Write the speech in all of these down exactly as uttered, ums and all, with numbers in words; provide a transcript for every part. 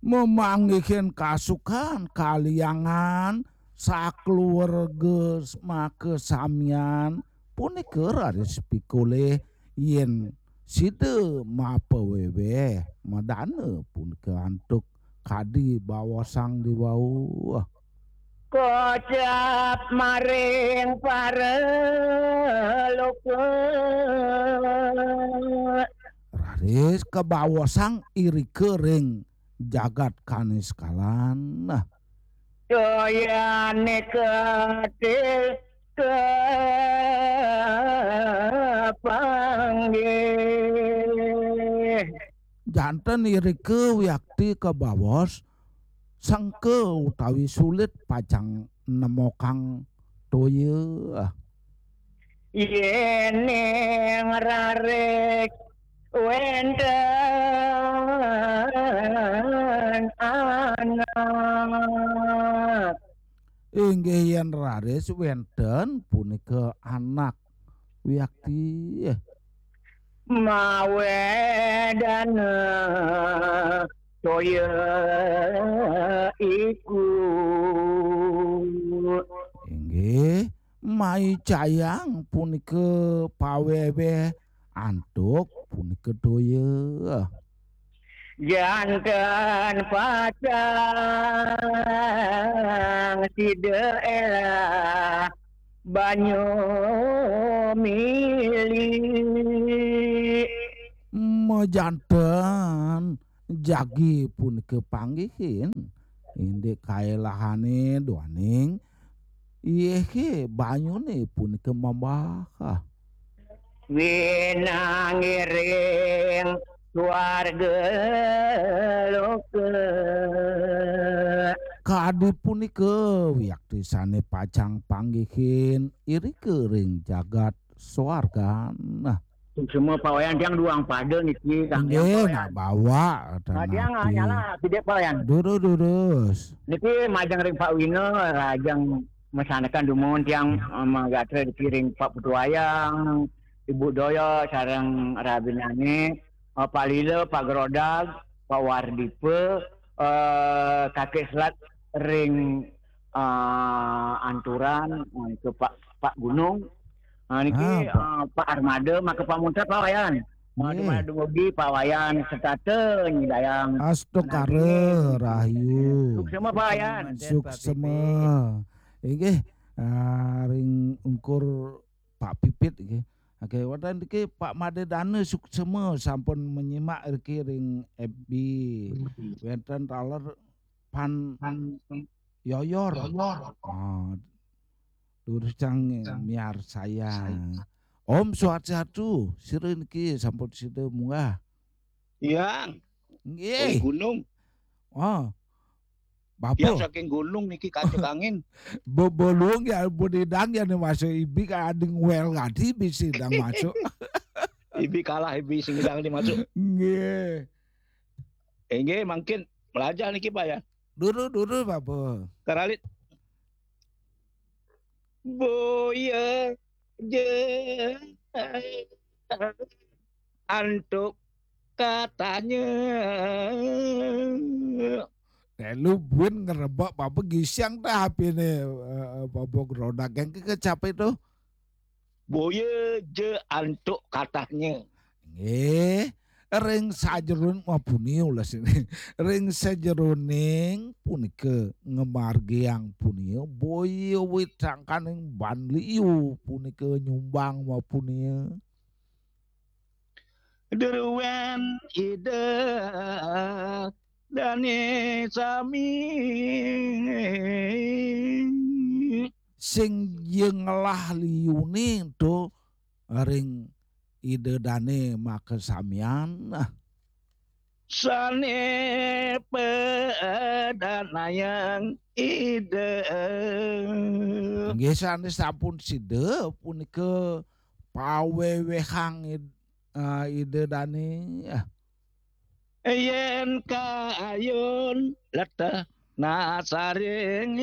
Memanggihin kasukan kaliangan sakeluarga makasamian punika raris pikolih yen sida mapaweweh madana punika antuk kadi bawosang diwau. Kocap maring paraloka. Raris kabawosang irika ring jagat Kaniskalan. Nah. Toyane ketil kepanggih. Janten irika wiakti kabaos sengka utawi sulit pacang nemokang toya. Yening rarik wenten anak. Inggih yen raris wenten punika anak wiakti. Mawedana toya iku. Inggih, maicayang punika paweweh antuk punika toya. Janten pacang sida elah banyu mili. Majanten jagi punika panggihin indik kaelahane duaning iyehe banyune punika mambah. Winangiring swarga loka. Kadi punika wiakti sane pacang panggihin irika ring jagat swargan. Suksma pawayan tiang duang pada niki, Kang. Inggih, Yang pawayan. Nak bawa, nah, tiang, ah, nyala, sidik pawayan. Durus, durus. Niki majeng ring Pak Wina, rajeng masanekan dumun tiang, eh, magatra niki ring Pak Putu Wayang, Ibu Doyo, sareng rabinane, eh, Pak Lila, Pak Gerodag, Pak Wardipa, eh, Kakek Selat ring, eh, Anturan, eh, ke Pak, Pak Gunung. Ah, niki, ah, Pak, eh, Pak Armada, maka pamuntet Pak Wayan. Eh, nggih. Dumugi Pak Wayan setata nyidayang. Astungkara, rahayu. Suksema Pak Wayan. Suksema. Inggih, ah, ring ungkur Pak Pipit nggih. Oke, wonten niki Pak Made Dana suksema sampun menyimak niki ring F B. Wenten taler pan Yoyor. Yoyor. Ah, durus cang miarsayang. Om Swastiastu, sira niki sampun sida munggah. Iya. Nggih. Gunung. Oh. Bapak. Tiang saking gunung niki kacek angin. Bebolung ya, budidang ya nih masuk ibi ka ading wel ngadi bisi dang masuk. Ibi kalah ibi sing dang di masuk. Nggih. Inggih, mangkin melajah niki, Pak, ya. Dulu, dulu, Bapak. Karalit. Boya je antuk katanya. Eh, lu buin ngerebak apa gisiang dah H P-ne, eh, apa gerodak yang ke kecap itu. Boya je antuk katanya. Nggih, ring sajeroning mapunia ulas ini. Ring sajeroning punika ngamargiang punia, boya wit sangkaning ban liu punika nyumbang mapunia. Druwen Ida dane sami. Sing ya ngelah liune to ring Ida dane makasamian. Sane pedanayang Ida. Nggih, sane sampun sida punika pawewehang Id-, eh, Ida dane. Yen kayun leteh nasaring.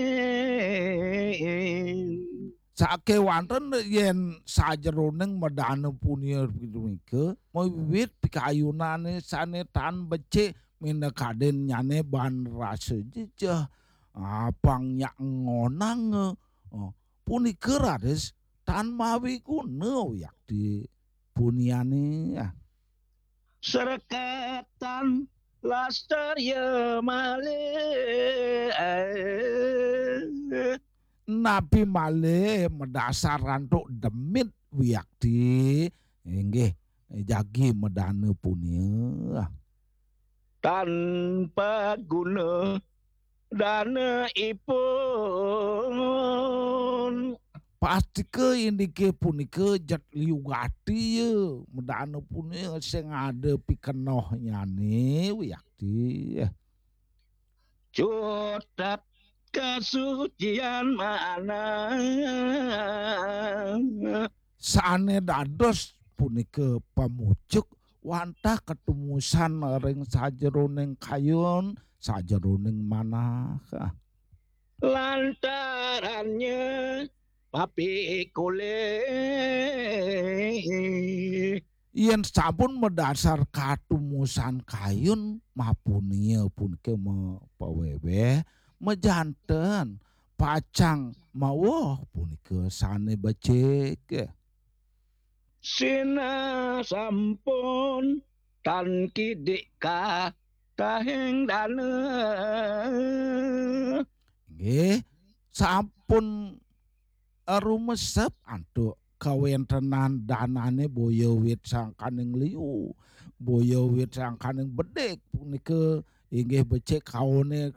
Sakewanten yen sajeroning medana punika punika, mawiwit pikayunane sane tan becik minakadinnyane baan rasa jejeh, apang nyak ngonang, eh, punika raris tan mawi guna wiakti puniane. Sreketan lastarya malih. Napi malih madasar antuk demit wiakti, inggih jagi madana punia. Tan paguna dana ipun. Pastika indike punika jet liu gati ya, madana punia sing ada pikenohnyane wiakti. Cutet kasucian manah. Sane dados punika pamucuk wantah katumusan ring sajeroning kayun, sajeroning manah. Lantarannya papikulih. Yen sampun madasar katumusan kayun, mapunia punika mapaweweh, majanten, pacang maweh punika sane becik. Sinah sampun tan kidik katahing dana. Nggih, sampun rumesep antuk kawentenan danane boya wit sangkaning liu, boya wit sangkaning bedik punika inggih becik kaone